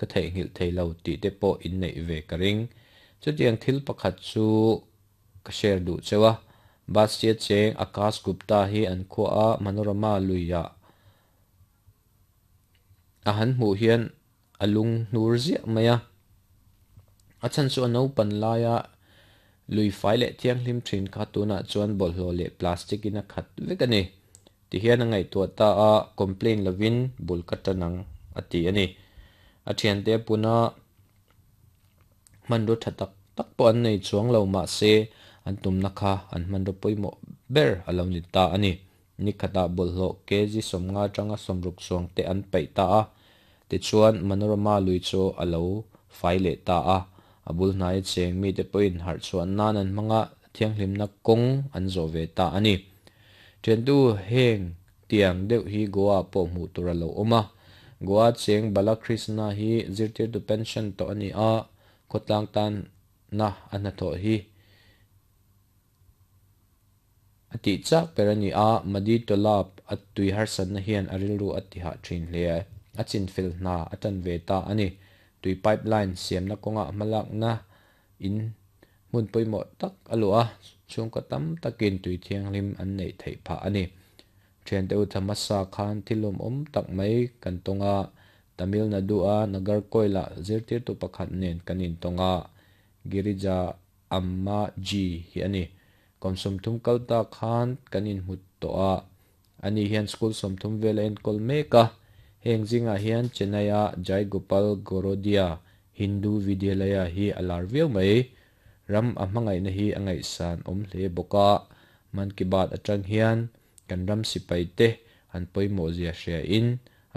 ka theihnghilh thei lo tih te pawh in neih ve ka ring. Chutiang thil pakhat chu ka share duh cheu a, Bastia cheng Akash Gupta hi an khua a Manorama luiah a han hmuh hian a lung hnur ziah mai a. A chhan chu a naupan laia lui fai leh thianghlim thin kha tunah chuan bawlhhlawh leh plastic in a khat vek a ni. Tihian a ngaihtuah ta a, complain lovin bul ka tan ang a ti a ni. A thiante a pun a, hmanraw tha tak tak pawh an nei chuang lo mahse an tumna kha an hmanraw pawimawh ber a lo ni ta a ni. Ni khatah bawlhhlawh kg 50 atanga 60 chuang te an paih ta a, tichuan Manorama lui chu a lo fai leh ta a, a bul hnaia cheng mite pawhin harh chhuah nan an hmang a, thianghlimna kawng an zawh ve ta a ni. Thiantu heng tiang deuh hi Goa pawh hmuh tur a lo awm a, Goa cheng Balakrishna hi zirtirtu pension tawh a ni a, khawtlang tanna a hnathawh hi A tih chak ber a ni a, Madi Tolab a tui harsatna hian a rilru a ti hah thin hle. A chinfel hna a tan ve ta a ni. Tui pipeline siamna kawngah hmalakna in hmun pawimawh tak a luah a, chhungkaw tam takin tui thianghlim an neih theih phah a ni. Thiante u Thamasa khan thil lawmawm tak mai kan tawng a, Tamil Nadu-a Nagarkoil-ah zirtirtu pakhat nen kan intawng a, Girija Amma Ji hi a ni. Kum 30 kal ta khan kan inhmu tawh a, ani hian school 30 vel a enkawl mek a. Heng zingah hian Chennai-a Jai Gopal Gorodia Hindu Vidyalaya hi a lar viau mai. Ram a hmangaihna hi a ngaihsan awm hle bawk a, Mann Ki Baat atang hian kan ram sipai te an pawimawh zia hria in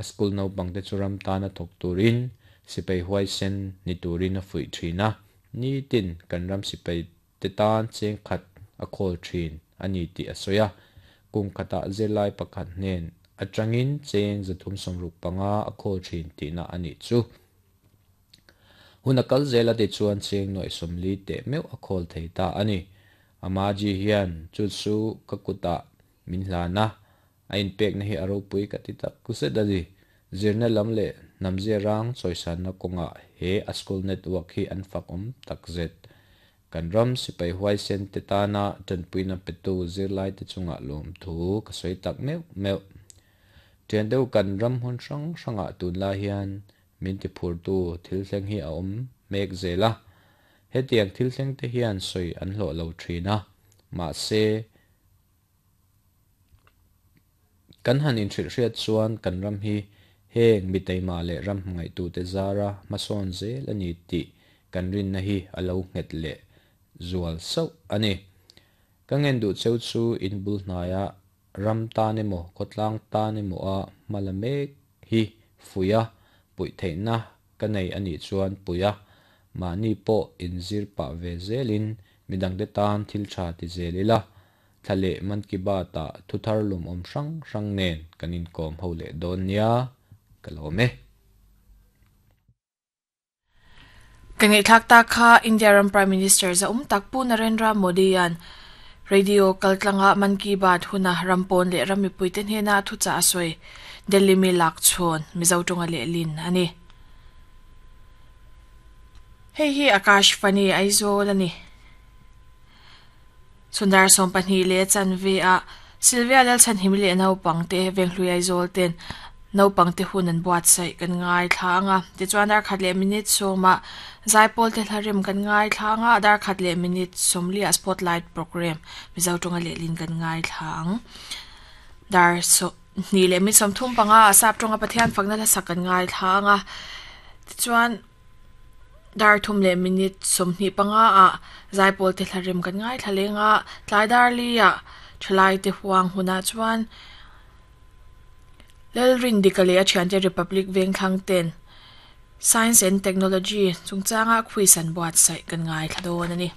a school naupang te chu ram tana thawk turin sipai huaisen ni turin a fuih thin a. Nitin kan ram sipai te tan cheng khat a khawl thin a ni tih a sawi a, kum khatah zirlai pakhat hnen atangin cheng 365 a khawl thin tihna a nih chu. Hun a kal zel a ti chuan cheng 40 teh meuh a khawl thei ta a ni. Amaji hian chu chu ka kutah min hlan a, a inpekna hi a ropui ka ti tak zet a ni. Zirna lam leh hnamzia rang chawisanna kawngah he a school network hi an fak awm tak zet. Kan ram sipai huaisen te tana tanpuina petu zirlai te chungah lawmthu ka sawi tak meuh meuh. Thian deuh kan ram hmun hrang hrangah tunlai hian min tiphurtu thil thleng hi a awm mek zel a. Hetiang thil thleng te hian sawi an hlawh lo thin a, mahse kan han inhrilhhriat chuan kan ram hi heng mi taima leh ram hmangaihtute zara hmasawn zel a ni tih kan rinna hi a lo nghet leh zual sauh a ni. Ka ngen duh cheu chu in bul hnaia ram tan emaw khawtlang tan emaw a hma la mek hi fuih a, puih theihna ka nei a nih chuan puih a, mahni pawh inzir pah ve zelin midangte tan thil tha ti zel ila, thla leh Mann Ki Baat-ah thu thar lawmawm hrang hrang nen kan inkawm ho leh dawn nia, ka lawm e. Ka ngaihthlak ta kha India ram Prime Minister zaum tak Pu Narendra Modi-a'n radio kaltlanga Mann Ki Baat huna ram pawn leh ram mipuite hnena thuchah a sawi Delhi mi lak chhawn Mizo tawnga lehlin a ni. Hei hi Akash Fani Aizawl a ni. Chhundar 12 leh chanve ah Sylvia Lalchhanhim leh naupangte Venghlui Aizawl ten naupangte hun an buatsaih kan ngaithla anga tichuan dar khat leh minute 10 ah Zaipawl te hlarem kan ngaithla anga dar khat leh minute 40 ah spotlight program Mizo tawnga lehlin kan ngaithla ang. Dar 2 leh minute 35 ah sap tawnga Pathian fakna hlasak kan ngaithla anga tichuan dar 3 leh minute 25 ah Zaipawl te hlarem kan ngaithla lenga tlai dar li ah thalai te huang hunah chuan Lalrin dika leh a thiante Republic Vengthlang ten Science and Technology chungchanga quiz an buatsaih kan ngaithla dawn a ni.